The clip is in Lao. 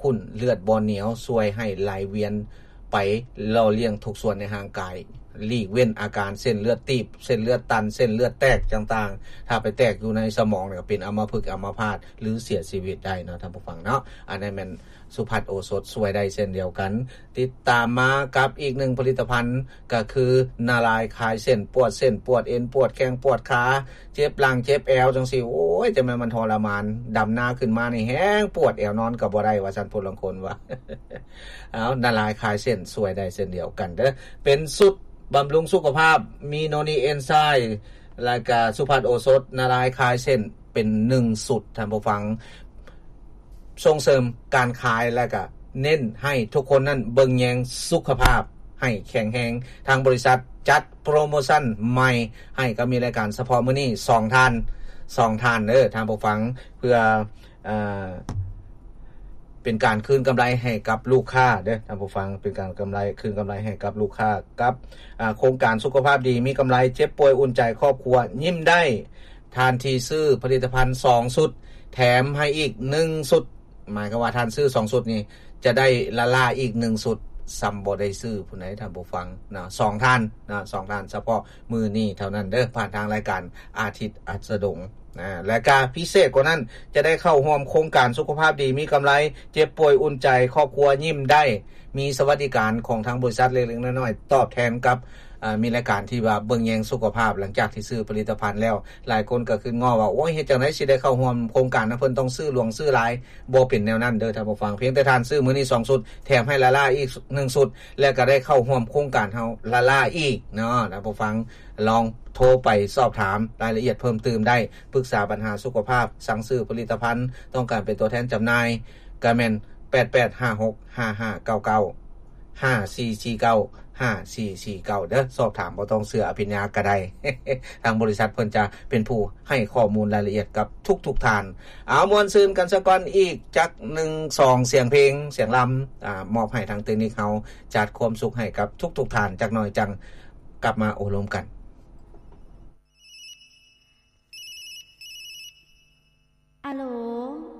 ອຸ່ນເລືອດບໍ່ໜຽວ ຊ່ວຍໃຫ້ໄຫຼວຽນໄປຫຼໍ່ລ້ຽງທຸກສ່ວນໃນຮ່າງກາຍ ຫຼີກເວັ້ນອາການເສັ້ນເລືອດຕີບ ເສັ້ນເລືອດຕັນ ເສັ້ນເລືອດແຕກຕ່າງໆ ຖ້າໄປແຕກຢູ່ໃນສະໝອງນີ້ກໍເປັນອຳມະພຶກອຳມະພາດ ຫຼື ເສຍຊີວິດໄດ້ເນາະ ທ່ານຜູ້ຟັງເນາະ. ອັນນັ້ນແມ່ນສຸພັດໂອສົດ ຊ່ວຍໄດ້ເຊັ່ນດຽວກັນ. ຕິດຕາມມາກັບອີກໜຶ່ງຜະລິດຕະພັນ ກໍຄືນາລາຍຄາຍເສັ້ນ ປວດເສັ້ນ ປວດເອັນ ປວດແຂ້ງ ປວດຂາ ເຈັບຫຼັງ ເຈັບແອວ ຈັ່ງຊີ້ ໂອ້ຍ ຈັ່ງແມ່ນມັນທໍລະມານ ດຳນາຂຶ້ນມານີ້ແຮງປວດແອວ ນອນກໍບໍ່ໄດ້ ວ່າຊັ້ນ ຜູ້ລາງຄົນວ່າ. ເອົາ ນາລາຍຄາຍເສັ້ນ ຊ່ວຍໄດ້ເຊັ່ນດຽວກັນເດີ້ ເປັນຊຸດບຳລຸງສຸຂະພາບ ມີໂນນີເອນໄຊ ແລ້ວກະສຸພັດໂອສົດ ນາລາຍຄາຍເສັ້ນ ເປັນໜຶ່ງຊຸດ ທ່ານຜູ້ຟັງ ສົ່ງເສີມການຂາຍ ແລະກະເນັ້ນໃຫ້ທຸກຄົນນັ້ນເບິ່ງແຍງສຸຂະພາບໃຫ້ແຂງແຮງ. ທາງບໍລິສັດຈັດໂປຣໂມຊັນໃໝ່ໃຫ້ ກໍມີລາຍການສະເພາະມື້ນີ້ ສອງທ່ານ ສອງທ່ານເດີ້ ທ່ານຜູ້ຟັງ ເພື່ອ ເອີ ເປັນການຄືນກຳໄລໃຫ້ກັບລູກຄ້າເດີ້ ທ່ານຜູ້ຟັງ ເປັນການກຳໄລ ຄືນກຳໄລໃຫ້ກັບລູກຄ້າ ກັບ ອາ ໂຄງການສຸຂະພາບດີມີກຳໄລ ເຈັບປ່ວຍອຸ່ນໃຈ ຄອບຄົວຍິ້ມໄດ້. ທ່ານທີ່ຊື້ຜະລິດຕະພັນສອງຊຸດ ແຖມໃຫ້ອີກໜຶ່ງຊຸດ ໝາຍຄວາມວ່າທ່ານຊື້ສອງຊຸດນີ້ ຈະໄດ້ລາລ່າອີກໜຶ່ງຊຸດ ສ່ຳບໍ່ໄດ້ຊື້ພຸ້ນໃດ ທ່ານຜູ້ຟັງເນາະ ສອງທ່ານເນາະ ສອງທ່ານ ສະເພາະມື້ນີ້ເທົ່ານັ້ນເດີ້ ຜ່ານທາງລາຍການອາທິດອັດສະດົງນະ. ແລະກະພິເສດກວ່ານັ້ນ ຈະໄດ້ເຂົ້າຮ່ວມໂຄງການສຸຂະພາບດີມີກຳໄລ ເຈັບປ່ວຍອຸ່ນໃຈ ຄອບຄົວຍິ້ມໄດ້ ມີສະຫວັດດີການຂອງທາງບໍລິສັດເລັກໆນ້ອຍໆ ຕອບແທນກັບ ເອີ ມີລາຍການທີ່ວ່າເບິ່ງແຍງສຸຂະພາບ ຫຼັງຈາກທີ່ຊື້ຜະລິດຕະພັນແລ້ວ. ຫຼາຍຄົນກໍຄຶດງໍວ່າ ໂອ້ຍ ເຮັດຈັ່ງໃດຊິໄດ້ເຂົ້າຮ່ວມໂຄງການນຳເພິ່ນ ຕ້ອງຊື້ຫຼວງຊື້ຫຼາຍ. ບໍ່ເປັນແນວນັ້ນເດີ້ ທ່ານຜູ້ຟັງ ພຽງແຕ່ທ່ານຊື້ມື້ນີ້ສອງຊຸດ ແຖມໃຫ້ລາລ່າອີກໜຶ່ງຊຸດ ແລະກໍໄດ້ເຂົ້າຮ່ວມໂຄງການເຮົາລາລ່າອີກເນາະ ທ່ານຜູ້ຟັງ. ລອງໂທໄປສອບຖາມລາຍລະອຽດເພີ່ມຕື່ມໄດ້ ປຶກສາບັນຫາສຸຂະພາບ ສັ່ງຊື້ຜະລິດຕະພັນ ຕ້ອງການເປັນຕົວແທນຈຳໜ່າຍ ກໍແມ່ນ ແປດແປດຫ້າຫົກຫ້າຫ້າເກົ້າເກົ້າ ຫ້າສີ່ສີ່ເກົ້າ ຫ້າສີ່ສີ່ເກົ້າ ເດີ້ ສອບຖາມ ບໍ່ຕ້ອງເຊື່ອອະພິນຍາກໍໄດ້ ທາງບໍລິສັດເພິ່ນຈະເປັນຜູ້ໃຫ້ຂໍ້ມູນລາຍລະອຽດກັບທຸກໆທ່ານ. ເອົາ ມ່ວນຊື່ນກັນສາກ່ອນ ອີກຈັກໜຶ່ງສອງສຽງເພງ ສຽງລຳ ອາ ມອບໃຫ້ທາງເຕັກນິກເຮົາ ຈັດຄວາມສຸກໃຫ້ກັບທຸກໆທ່ານ ຈັກໜ່ອຍຈັ່ງກັບມາໂອ້ລົມກັນ.